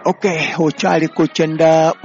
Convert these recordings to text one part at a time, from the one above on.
Okay, okyali ku 94.4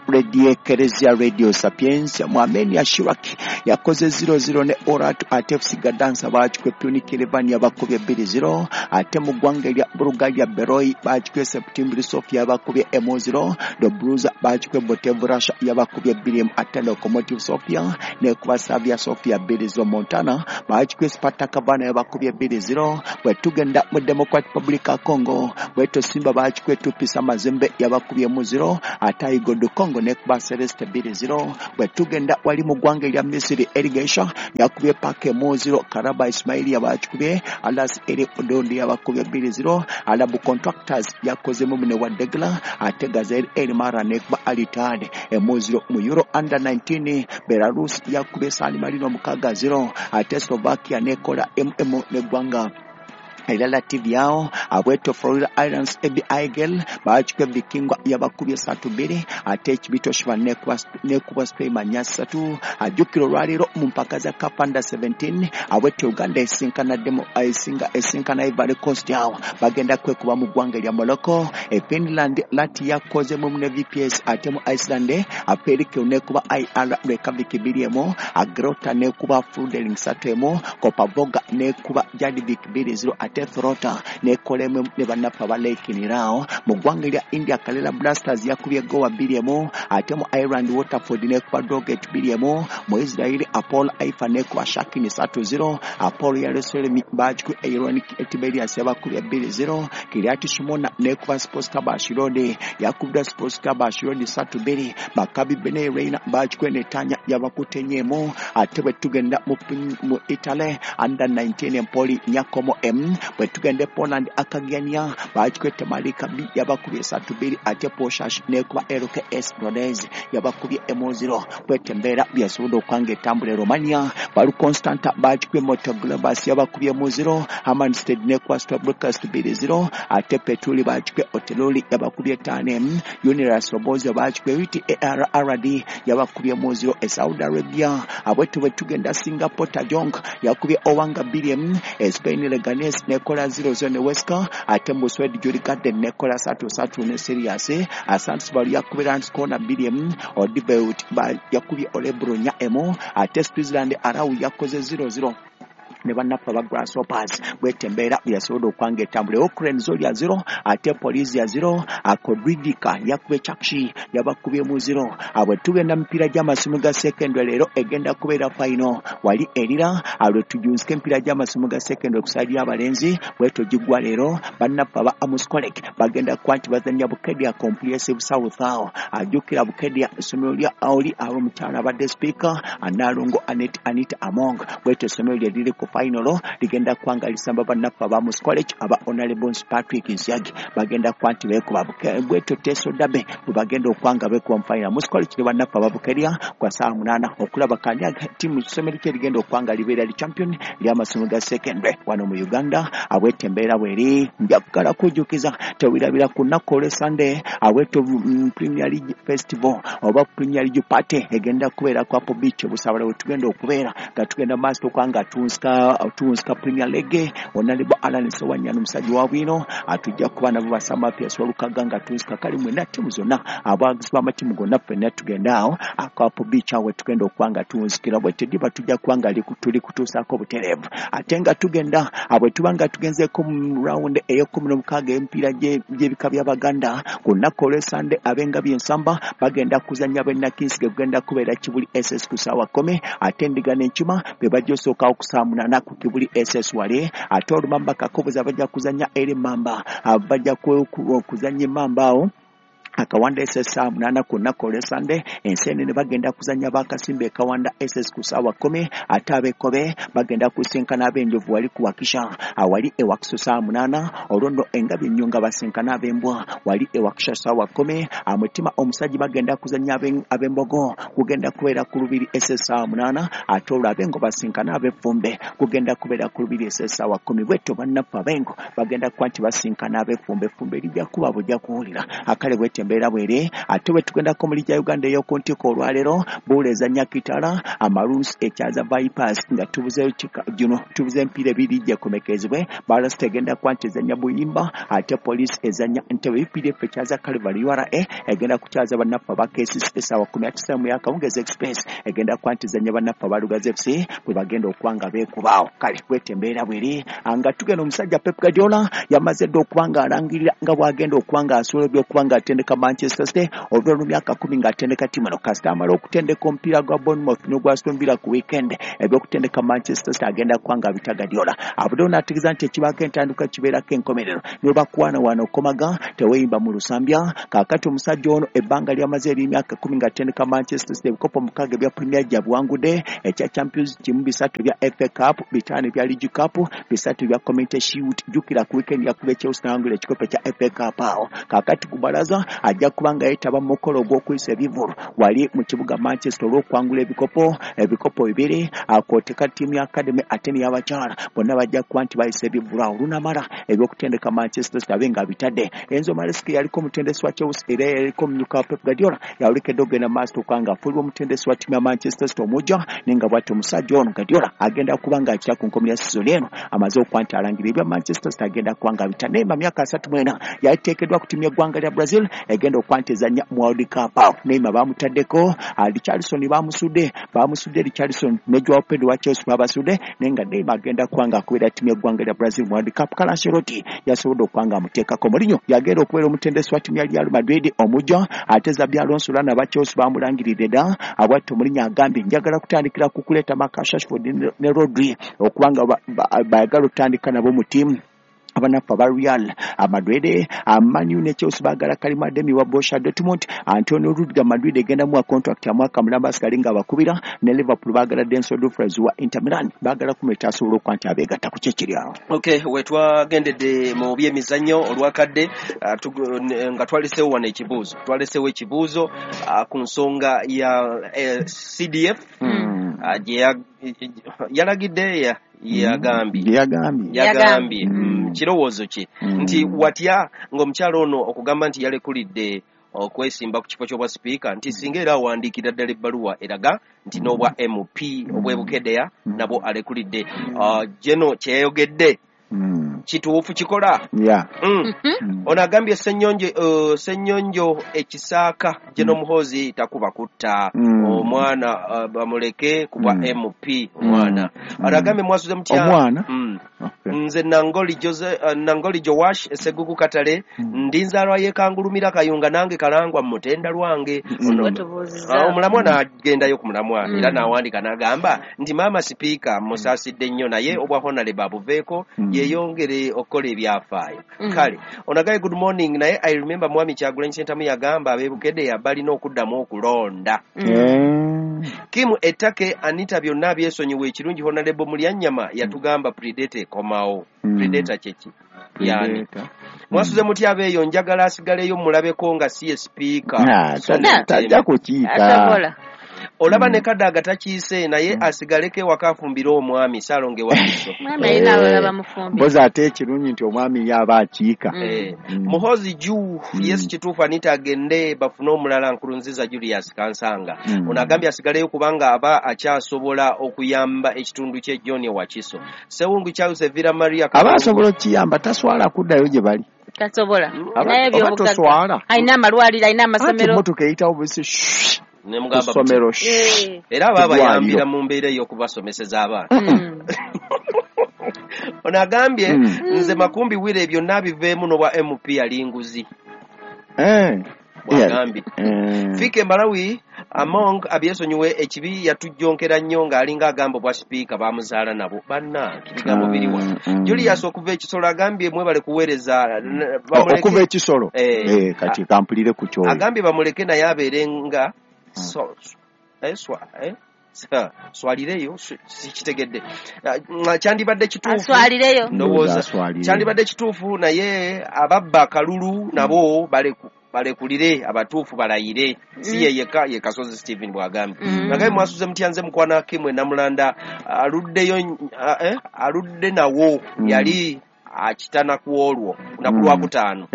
Radio Ekereziya Radio Sapientia. Mu Armenia Shirak yakoze 0-0 ne Orat, ate FC Gadansa baakikwe Punic Yerevan yabakubye 2-0, ate mu ggwanga erya Bulgaria Beroi baakikwe September Sofia yabakubye 0, Dobruza baakikwe Botev Russia yabakubye 2, ate Lokomotiv Sofia nekuba Slavia Sofia 2-0, Montana baakikwe Spartak Varna yabakubye 2-0. Bwe tugenda mu Democratic Republic of Congo, bweto Simba baakikwe Tupisa Mazembe yabakubye 0, ate Aigodu Congo nekuba Celeste 2-0. Bwe tugenda wali mu ggwanga erya Misiri, Irrigation yakubye Pake 0, Karaba Ismaili yabakikubye Alas Eri Odondi yabakubye 2-0, Alabu Contractors yakoze mumune wa Degla, ate Gazelle El Mara nekuba Al Ittihad 0. Mu Euro Under 19 Belarus yakubye San Marino 6-0, ate Slovakia nekola MM neggwanga erya Latvia. Abweto Florida Islands Ebi Aigel baakikwe Vikingwa yabakubye 3-2, ate Ekibito Shiba nekuba Spain 3. Ajjukira olwaleero mu mpaka za CAF Under 17, abweto Uganda esinkana Ivory Coast, awo bagenda kwekuba mu ggwanga erya Morocco. E Finland Lati yakozemu ne VPS, ate mu Iceland Aperike nekuba IR Reykjavik 2-1, Agrota nekuba Fludeling 3-1, Kopavoga nekuba Jadvik 2-0, ate Throta nekolemu ne bannaffe aba Laikinirao. Mu ggwanga erya India Kerala Blasters yakubye Goa 2-1, ate mu Ireland Waterford nekuba Drogheda 2-1, mu Israel Apollo Haifa nekuba Shakin 3-0, Apollo Yerusalem baakikwe Ironic Tiberias yabakubye 2-0, Kiryat Shimona nekuba Sports Club Ashdod yakubye Sports Club Ashdod 3-2, Maccabi Bnei Reina baakikwe Netanya yabakutenyemu. Ate bwe tugenda mu Italy Under 19 Empoli Nyakomo M. Bwe tugenda e Poland Akagiania baakikwe Temalika B yabakubye 3-2, ate Poshash nekuba LKS Rodez yabakubye 0. Bwete embeera byasobodde okwanga etambula e Romania, Balu Constanta baakikwe Motoglobus yabakubye 0, Hammerstead nekuba Stobrokas 2-0, ate Petuli baakikwe Oteloli yabakubye 5, Uniras Roboza baakikwe UTARRD yabakubye 0. E Saudi Arabia abweto bwe tugenda Singapore Tajong yakubye Owanga 2, e Spain Leganes nekola 0-0 ne Weska, ate mu Sweden Julie Garden nekola 3-3 ne Sirius, Sandsbury yakubye Landskrona 2, Odibeut yakubye Olebro 4, ate Switzerland Arau yakoze 0-0 ne bannaffe aba Grasshoppers. Bwete embeera yasobodde okwanga etambula. Ukraine Zoria 0, ate Polisia 0, Akodridika yakubye Chakshi yabakubyemu 0. Abwe tugenda mipiira gy'amasomo ga secondary leero egenda kubeera final wali erira alwe tujunzike emipiira gy'amasomo ga secondary ku side y'abalenzi bwetyo giggwa leero. Bannaffe aba Amos College bagenda kuba nti bazannya Bukedia Comprehensive South awo. Ajjukira Bukedia essomero lya oli ab'omukyala abadde speaker Analongo Anita Among, bwetyo essomero lye liri ku final ligenda kwanga lisamba bannaffe aba Amos College aba Honorable Patrick Nsiagi bagenda kuba nti beekuba bwetyo Teso Dabe bwe bagenda okwanga beekuba mu final. Amos College ne bannaffe aba Bukedia kwa ssaawa 8 okulaba kani ttiimu essomero kye ligenda okwanga libeera li champion ly'amasomo ga secondary wano mu Uganda. Abwetyo embeera bweri njagala kujjukiza tewirabira ku lunaku olw'e Sunday abwetyo Premier League Festival oba Premier League Party egenda kubeera ku Apple Beach Busabala we tugenda okubeera nga tugenda maaso okwanga tunsika Premier League. Honorable Alan Sewanyana omusajja wa bwino atujja kuba nabo basama Pius Walukaga nga tunsika kali mwenna ttiimu zonna abawagizi b'amatiimu gonna ffenna tugenda awo ku Apple Beach awo tugenda okwanga tunsikira bwe tediba tujja kubanga tuli kutuusaako butereevu. Ate nga tugenda bwe tuba nga tugenzeeko mu round ey'e16 emipiira gy'ebika by'Abaganda ku lunaku olw'e Sunday ab'engabi ensamba bagenda kuzannya b'e Nakinsige kugenda kubeera Kibuli SS ku ssaawa 10, ate Endiga n'Enkima be bajja osookawo ku ssaawa 8 ku Kibuli SS wale, ate Olumamba Kakoboza bajja kuzannya eri Mamba, bajja kuzannya Mamba awo Akawanda SS ssaawa 8 ku lunaku olw'e Sunday. Enseenene bagenda kuzannya Bakasimba e Kawanda SS ku ssaawa 10, ate ab'Ekkobe bagenda kusinkana ab'Enjovu wali ku Wakisha awali e Wakiso ssaawa 8, olwo nno Engabi Ennyonga basinkana ab'Embwa wali e Wakisha ssaawa 10, Amutima Omusajja bagenda kuzannya ab'Embogo kugenda kubeera ku Lubiri SS ssaawa 8, ate olwo ab'Engo basinkana ab'Effumbe kugenda kubeera ku Lubiri SS ssaawa 10. Bwetyo bannaffe ab'Engo bagenda kuba nti basinkana ab'Effumbe, effumbe lijja kuba bujja kuwulira akale bwetyo Bwete embeera bwere. Ate bwe tugendako mu liigi ya Uganda ey'oku ntikko olwaleero, Buula ezannya Kitara, Amaruns ekyaza Vipers, nga tubuzeeyo gino tubuze emipiira ebiri gyekomekezebwe. Balasita egenda kuba nti ezannya Buyimba, ate Police ezannya Ntebe. UPDF ekyaza Calvary, URA egenda kukyaza bannaffe aba KCC essaawa 19 mu y'akawungeezi. Express egenda kuba nti ezannya bannaffe aba Lugazi FC bwe bagenda okuba nga beekubaawo. Kale bwete embeera bweri. Nga tugenda, omusajja Pep Guardiola yamaze dda okuba nga alangirira nga bw'agenda okuba nga asobola ebyokuba nga atendeka Manchester City oluvannyuma lw'emyaka 10 ng'atendeka ttiimu eno. Kasita amala okutendeka omupiira gwa Bournemouth n'ogwa Aston Villa ku weekend, ebyokutendeka Manchester City agenda kuba nga abita. Guardiola avuddeyo n'ategeeza nti ekibaako entandikwa kibeerako enkomerero, n'obakuwaanawaana okukomaga teweeyimba mu lusambya. Kaakati omusajja ono ebbanga lyamaze ery'emyaka 10 ng'atendeka Manchester City, ebikopo 6 ebya Premier gyabuwangudde, ekya Champions kimu, 3 ebya FA Cup, 5 ebya League Cup, 3 ebya Community Shield. Jjukira ku weekend yakuba Chelsea n'awangula ekikopo ekya FA Cup awo. Kaakati ku balaza ajja kuba nga yeetaba mu mukolo ogw'okuyisa ebivvulu wali mu kibuga Manchester olw'okuwangula ebikopo 2, akwoteka ttiimu ya academy ate n'ey'abakyala, bonna bajja kuba nti bayisa ebivvulu awo. Olunamala ebyokutendeka Manchester City abe nga bitadde. Enzo Maresca yaliko omutendesi wa Chelsea era yaliko omumyuka wa Pep Guardiola, yawulikedde okugenda maaso okuba nga afuulibwa omutendesi wa ttiimu ya Manchester City omujja, naye nga bw'ati omusajja ono Guardiola agenda kuba nga akira ku nkomerero ya sizoni eno. Amaze okuba nti alangira ebya Manchester City agenda kuba nga abita. Neymar, myaka 34, yaliteekeddwa ku ttiimu y'eggwanga lya Brazil egenda okuba nti ezannya mu World Cup awo. Neymar bamutaddeko, Richarlison bamusudde, Richarlison ne Joao Pedro wa Chelsea babasudde, naye nga Neymar agenda kuba nga akubira ttiimu y'eggwanga lya Brazil mu World Cup. Carlo Ancelotti yasobodde okuba nga amuteekako. Mourinho yagenda okubeera omutendesi wa ttiimu ya Real Madrid omujja, ate Xabi Alonso lana aba Chelsea bamulangiridde dda. Abwatto Mourinho agambye, njagala kutandikira ku kuleeta Marcus Rashford ne Rodri okuba nga bayagala okutandika nabo mu ttiimu abanaffe aba Real Madrid. Man U ne Chelsea baagala Karim Adeyemi wa Borussia Dortmund. Antonio Rudiger, Madrid egenda muwa contract ya mwaka mulamba asigale nga abakubira. Ne Liverpool baagala Denzel Dumfries wa Inter Milan, baagala kumuleeta asobola okuba nti abeegatta ku kyekiri awo. Okay, wetwagendedde mu byemizannyo olwakadde, nga twaleseewo wano ekibuuzo, twaleseewo ekibuuzo ku nsonga ya CDF gye yalagidde, yagambye. Yagambye. Yagambye. Kirowoozo kye nti watya ng'omukyalo ono okugamba nti yalekulidde okwesimba ku kifo ky'obwa sipiika, nti singa era awandiikira ddala ebbaluwa eraga nti n'obwa MP obw'Ebukedeya nabwo alekulidde. Geno kyeyayogedde kituufu kikola. Ono agambye Ssenyonjo, Ssenyonjo ekisaaka Geno Muhoozi takuba kutta omwana, bamuleke kubwa MP omwana. Ono agambye mwasuze mutya? Omwana. Nze Nangoli Jose, Nangoli Jowash Seguku Katale, ndi nzaalwa y'e Kangulumira Kayunga, nange Kalangwa Mutenda lwange. Omulamwa n'agendayo ku mulamwa era n'awandiika n'agamba nti maama sipiika musaasidde nnyo, naye obwa honorable abuveeko yeeyongere okukola ebyafaayo. Kale ono agambye, good morning, naye I remember mwami Kyagulanyi Ssentamu yagamba ab'Ebukedeya balina okuddamu okulonda. Kim Ettake Anita byonna byesonyiwa, ekirungi honorable Mulyanyama yatugamba predator ekomawo. Predator kyeki yani? Mwasuze mutya abeeyo? Njagala asigaleyo mulabeko nga si ye sipiika. Tajja kukiika. Olaba ne Kadaga takiise, naye asigaleko ewaka afumbire omwami Saalonge Wakiso. Mpozi ate ekirungi nti omwami ye aba akiika. Muhozi ju yesu kituufu, Anita agende bafune omulala. Nkurunziza Julius Kansanga. Ono agambye asigaleyo kubanga aba akyasobola okuyamba ekitundu kye. John Wakiso Sewungu Charles Evira Maria. Aba asobola okukiyamba, taswala kuddayo gye bali. Tasobola. Naye oba alina amalwaliro, alina amasomero. Emotoka eyitawo busi ssomero. Era aba abayambira mu mbeera ey'okubasomeseza abaana. Ono agambye, nze Makumbi Wire, byonna biveemu n'obwa MP ali nguzi. Bwagambye Fike Malawi Among abyesonyiwe, ekibi yatujjonkera nnyo ng'alinga agamba obwa sipiika bamuzaala nabo. Bannange, bigambo biriwa? Julius okuva Ekisolo agambye mwebale kuweereza. Okuva Ekisolo, kati kampulire ku kyoyo. Agambye bamuleke naye abeere nga swalireyo, sikitegedde. Kyandibadde kituufu, ndowooza kyandibadde kituufu, naye ababba akalulu nabo balekulire, abatuufu balayire, si ye yekka. Ye Kasozi Stephen bw'agambye. Nagaye mwasuze mutya? Nze mukwana Kimwe Namulanda aluddeyo, aludde nawo yali akitana ku olwo naku lwakutaano.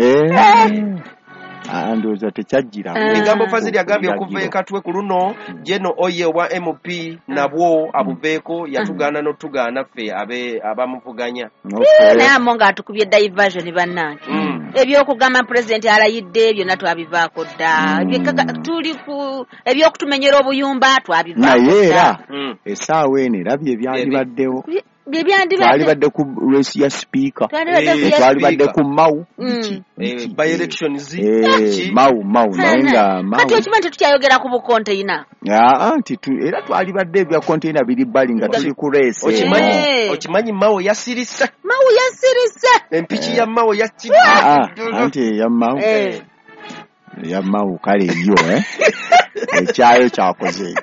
Ndowooza tekyajjiramu. Ebigambo Fazili agambye okuva ekatwe ku luno Jeno Oye wa MP nabwo abuveeko yatugaana n'otugaana ffe abamuvuganya. Naye amo ng'atukubye diversion bannange. Ebyokugamba pulezidenti alayidde byonna twabivaako dda. Tuli ku ebyokutumenyera obuyumba twabivaako dda. Naye era essaawa eno era bye byandibaddewo. Twalibadde ku race ya speaker, twalibadde ku Mau by elections, Mau naye nga Mau kati okimanyi tetukyayogera ku bukonteyina. Nti era twalibadde ebya konteyina biri bbali nga tuli ku race. Okimanyi Mau yasirise. Mau yasirise. Empiki ya Mau yakiri. Anti ya Mau ya Mau kale yo ekyayo kyakoze.